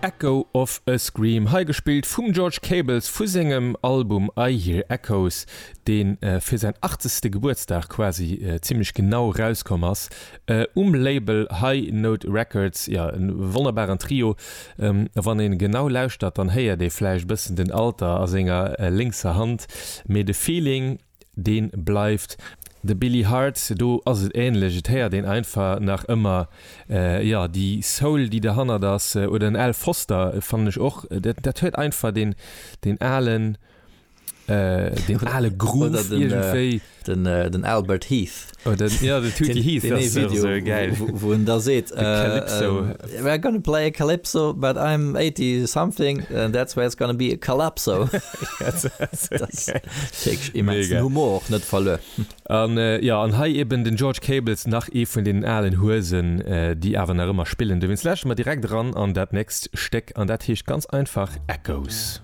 Echo of a Scream, hei gespillt vum George Cables vu sengem Album I Hear Echoes, dee fir säin achtzegste Gebuertsdag quasi zimmlech genau erauskomm ass um Label High Note Records. Jo, e wonnerbaren Trio. Wann ee genau lauschtert, dann héiert ee vläicht e bëssen den Alter a senger lénkser Hand, mee de Feeling, Deen bleift. De Billy Hart, do ass et ähnlech, et héiert een einfach nach ëmmer, jo, déi Soul, déi derhannert ass. Oder den Al Foster fannen ech och, dat huet einfach deen, deen alen, deen ale Groove iergendwéi. Den, den Albert Heath. Oder, jo, den Tootie Heath ass och esou gäil. Wou en da seet, De Calypso. We're gonna play a Calypso, but I'm 80 something and that's why it's gonna be a Calypso. Immensen Humor och net verluer. An jo, an hei eben den George Cables, nach ee vun deenen alen Huesen, déi awer nach ëmmer spillen. Dowéinst lauschteren mer direkt eran an dat nächst Stéck, an dat heescht ganz einfach Echoes.